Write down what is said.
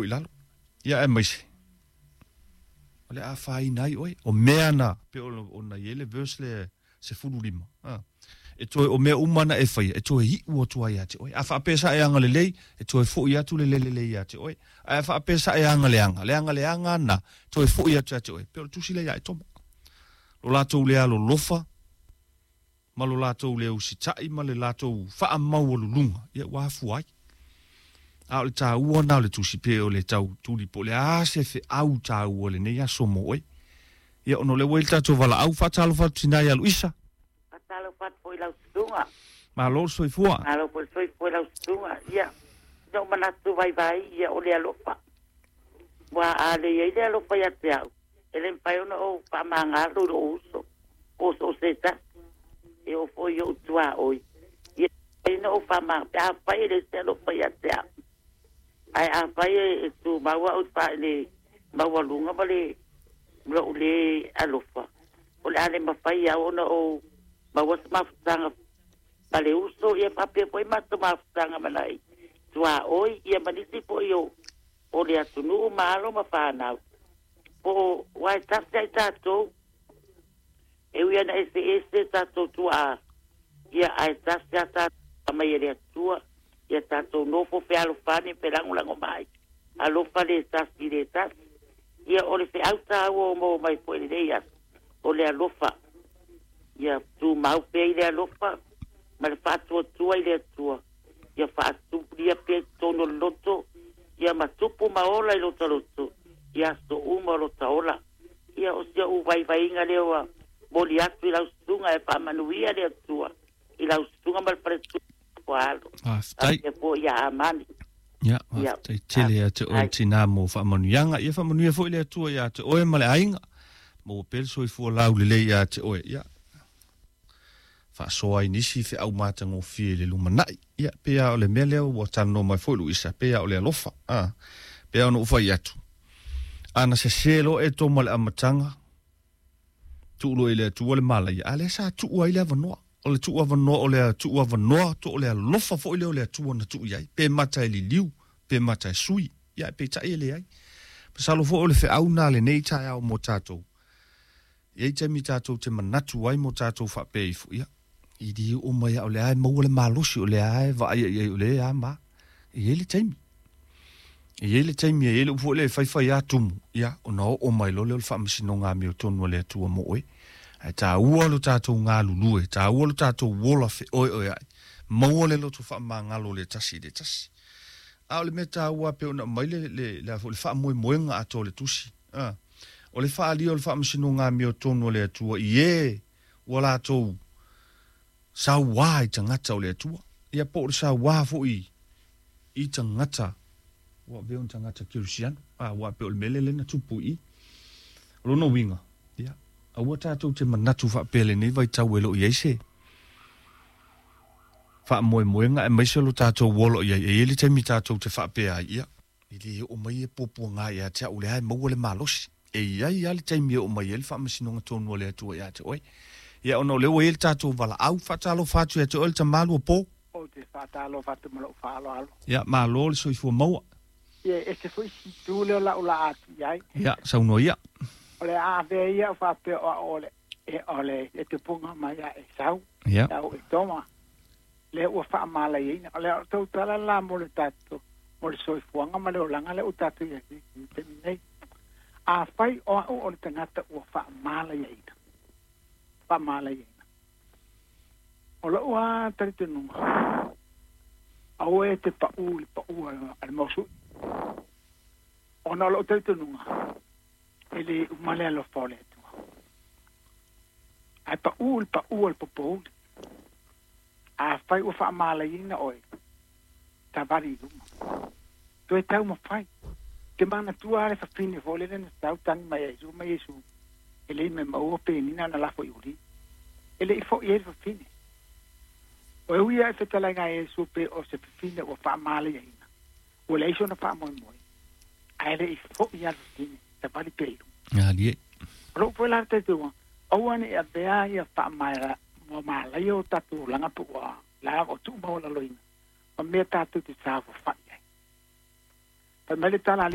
I lalo. Ia aemaise, o le a afaina ai oe. O mea na, pei ona i ai le verse lea 15, a, e toe, o mea uma na e faia, e toe iu atu ai ia te oe. A faapea sa e agalelei, e toe foi atu le le lelei ia te oe. Ae a faapea sa e agaleaga, le agaleaga na, toe foi atu ia te oe. Pei o le tusi lea ia Etoma. Lo latou le alolofa, ma lo latou le usitai ma le latou faamaualuluga, ia ua afua ai. A o le taua na o le tusi pe o le tau tuli po o le a se feau taua lenei aso mo oe. Ia ona o lea ua i le tatou valaau, faatalofa atu tina ia Luisa. Faatalofa atu foi i lau susuga. Malo le soifua. Malo foi le soifua i lau susuga. Ia, na ou manatu vaivai, ia o le alofa. Ua a le i ai le alofa ia te au, e le mafai ona ou faamagalo i lou uso, po o so o se tasi, e oo foi i ou tuaoi. Ia, e na ou faamagalo, pe afai e leai se alofa ia te au. Ae afai e tumau au i le maualuga ma le lou le alofa, o le a le mafai au ona ou maua se mafutaga ma le uso, ia faapea foi matou mafutaga ma nai tuaoi, ia ma nisi foi o le atunuu ma alo ma fanau. Po o aua e tasi ai tatou, e ui ana eseese tatou tuaa, ia ae tasi a tatou mai e le Atua, ia tatou nofo fealofani felagolago mai, alofa le tasi i le tasi. Ia o le feau taua o maua mai foi i lenei aso, o le alofa. Ia tumau pea i le alofa ma le faatuatua i le Atua, ia faatupulia pea i totonu o le loto, ia ma tupu ma ola i lota loto, i aso uma o lota ola. Ia o si ou vaivaiga lea ua moli atu i lau susuga, e faamanuia le Atua i lau susuga ma le faletua alo. Faafetai. Faapea foi ia Amani. Ia, faafetai tele ia te oe tina mo faamanuiaga. Ia faamanuia foi le Atua ia te oe ma le aiga. Maua pea le soifua laulelei ia te oe. Ia, faasoa ai nisi feau matagofie i le lumanai. Ia, pei lava o le mea lea ua talanoa mai foi Luisa, pei lava o le alofa. A, pei lava ona ou fai atu, a na sese loa Etoma i le amataga, tuu loa i le Atua le malaia, a lea sa tuu ai le avanoa. O le tuu avanoa, o le tuu avanoa, to o le alofa foi lea o le Atua na tuu i ai, pe mata e liliu, pe mata e sui, ia peitai e leai. Masalo foi o le feau na lenei taeao mo tatou. E i ai taimi tatou te manatu ai mo tatou faapea ifo, ia, i le oo mai lava o lea e maua le malosi, o lea e vaaia i ai o lea e a ma. E i ai le taimi. E i ai le taimi, e i ai le upu foi lea e faifai lava tumu, ia, ona oo mai loa lea o le faamasinoga amiotonu a le Atua mo oe. Ae taua lo tatou galulue, taua lo tatou ola feoeoeai, maua le loto faamagalo le tasi i le tasi. A o le mea taua pei ona aumai le, le, le, le faamoemoega atoa o le tusi. A, o le faaalia o le faamasinoga amiotonu a le Atua i e ua latou sauā i tagata o le Atua. Ia po o le sauā foi i tagata ua avea o tagata kerisiano. A, aua pei o le mea lea na tupu i i. O lona uiga, ia, aua tatou te manatu faapea lenei vaitau e le o i ai se faamoemoega aemaise lo tatou ola o i ai. E i ai le taimi tatou te faapea ai, ia, e le oo mai e puapuaga ia te au, o lea e maua le malosi. E i ai lava le taimi e oo mai ai le faamasinoga tonu a le Atua ia te oe. Ia, ona o lea ua i ai le tatou valaau, faatalofa atu ia te oe le tama Luapo. Ou te faatalofa atu ma lou faaaloalo. Ia, malo le soifua maua. Ia, e ese foi si itu lea o lau laa atu i ai. Ia, saunoa ia. O le a avea ia o faapea o au o le, e, o le, le tupuga mai a Esau, Ia. au Etoma, lea ua faamalaiaina. O le a tou tala la mo le tatou, mo le soifuaga ma le olaga lea ua tatou i ai i le taimi nei. Afai o au o le tagata ua faamalaiaina, faamalaiaina. O lou lava talitonuga, aua e te pau i le pau a le mausui. Ona o lou talitonuga, e le uma le alofa o le Atua. Ae pau i le pau a le popouli. Afai ua faamalaiina oe, savali i luma. Toe taumafai. Te manatua le fafine foi lele na sau tagi mai ai Iesu ma Iesu e le i mea maua penina na lafo i uli. E le i foi ai le fafine. O e ui ae fetalaiga a Iesu pe o se fafine ua faamalaiaina. Ua leai sona faamoemoe. Ae le i foi a le fafine, savali pea i luma. Alie. O lou foi la talitonuga, aua ne i avea ia faamalaia o tatou olaga pe ua la o tuumaualaloina ma mea tatou te saofafai ai. Fai mai le tala.